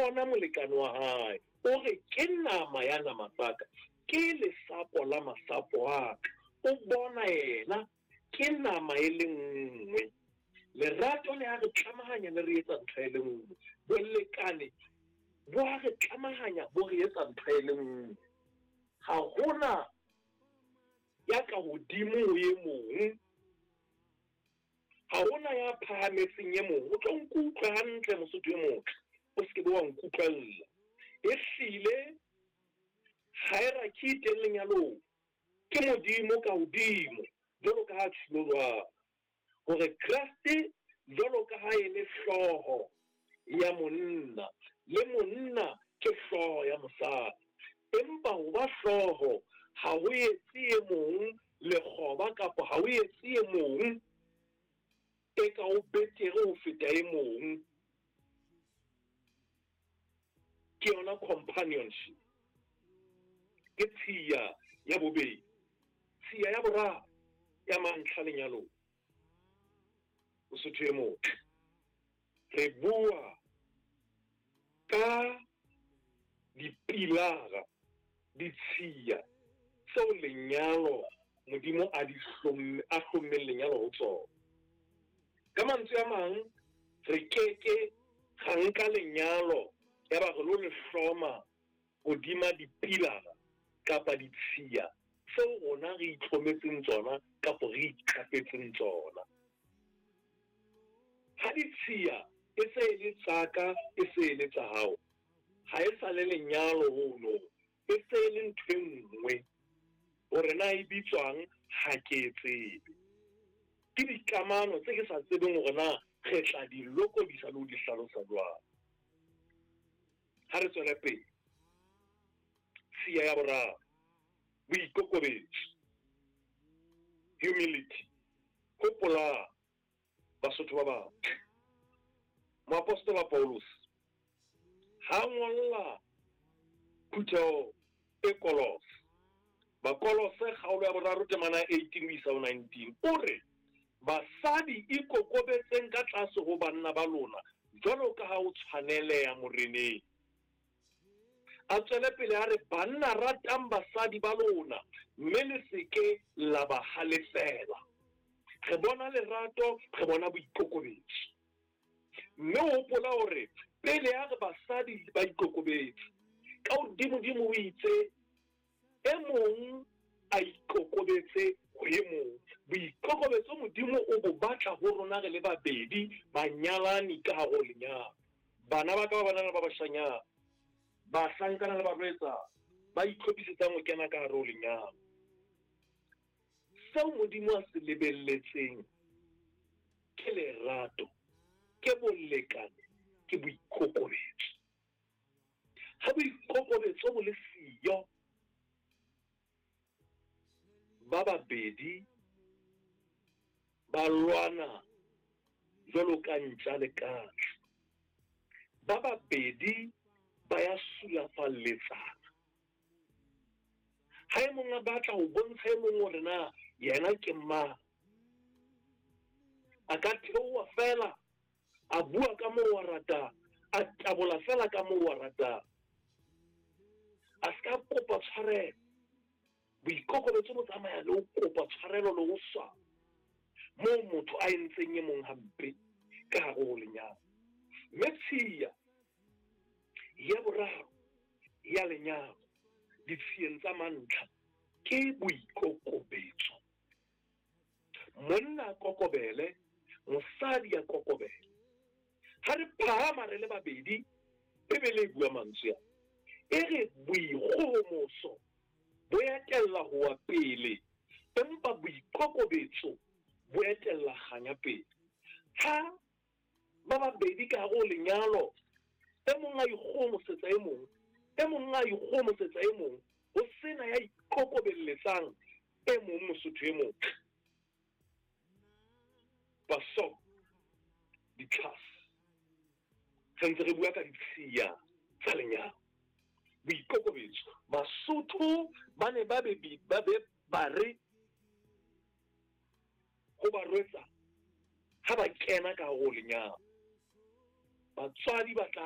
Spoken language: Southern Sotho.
bona molekane wa hae, o re ke nama ya nama tsa ka, ke lesapo la masapo a ka. O bona yena ke nama e le nngwe. Lerato le a re tlamahanya le re etsa ntho e le nngwe. Bolekane bo a re tlamahanya bo re etsa ntho e le nngwe. Ha hona ya ka hodimo ho e mong. Ha hona ya phahametseng e mong. O tlo nkutlwe hantle Mosotho e motle. O se ke be wa nkutlwella. Ehlile hierarchy e teng lenyalong. Ke Modimo ka hodimo, jwalo ka ha tjhilo jwalo. Hore Kreste jwalo ka ha e le hlooho ya monna, le monna ke hlooho ya mosadi. Empa ho ba hlooho ha ho etse e mong lekgoba kapa ha ho etse e mong eka o betere ho feta e mong. Ke yona companionship. Ke tshiya ya bobedi. Tshiya ya boraro ya mantlha lenyalong. Mosotho e motle. Re bua ka dipilara, ditshiya tseo lenyalo Modimo a di hlomme a hlommeng lenyalo ho tsona. Ka mantswe a mang, re ke ke ra nka lenyalo yaba re lo le hloma hodima dipilara kapa ditshiya tseo rona re itlhometseng tsona kapa re iqapetseng tsona. Ha ditshiya e se e le tsa ka e se e le tsa hao, ha e sa le lenyalo hono, e se e le ntho e nngwe. Hore na e bitswang ha ke e tsebe. Ke dikamano tse ke sa tsebeng hore na re tla di lokodisa le ho di hlalosa jwang. Ha re tswele pele. Tshiya ya boraro, boikokobetso, humility. Hopolang, Basotho ba batle, moapostola Pauluse ha ngolla phutheho e Kolose, Bakolose kgaolo ya boraro temana ya 18 ho isa ho 19, o re, Basadi ikokobetseng ka tlase ho banna ba lona jwalo ka ha ho tshwaneleha Moreneng. A tswele pele a re, Banna ratang basadi ba lona mme le se ke la ba halefela. Re bona lerato, re bona boikokobetso. Mme o hopola hore pele a re basadi ba ikokobetse, ka hodimodimo o itse, E mong a ikokobetse ho e mong. Boikokobetso Modimo o bo batla ho rona re le babedi banyalani ka hare ho lenyalo. Bana ba ka ba banana ba bashanyana, bahlankana le barwetsana ba itlhophisetsang ho kena ka hare ho lenyalo. Seo Modimo a se lebelletseng ke lerato, ke bolekane, ke boikokobetso. Ha boikokobetso bo le siyo, ba babedi ba lwana jwalo ka ntja le katse. Ba babedi ba ya sulafalletsana. Ha e mong a batla ho bontsha e mong hore na yena ke mang, a ka theoha feela a bua ka moo a ratang, a tabola feela ka moo a ratang. A se ka kopa tshwarelo. Boikokobetso bo tsamaya le ho kopa tshwarelo le ho swaba moo motho a entseng e mong hampe ka hare ho lenyalo. Mme tshiya ya boraro ya lenyalo ditshiyeng tsa mantlha ke boikokobetso. Monna a kokobele, mosadi a kokobele. Ha re phahama re le babedi, Bibele e bua mantswe a. E re boikgohomoso bo etella ho wa pele, empa boikokobetso bo etella kganya pele. Ha ba babedi ka hare ho lenyalo, e mong a ikgohomosetsa e mong, e mong a ikgohomosetsa e mong, ho sena ya ikokobelletsang e mong Mosotho e motle. Pasok ditlhase. Re ntse re bua ka ditshiya tsa lenyalo. Boikokobetso. Basotho ba ne ba be ba be ba re ho barwetsana ha ba kena ka hare ho lenyalo, batswadi ba tla.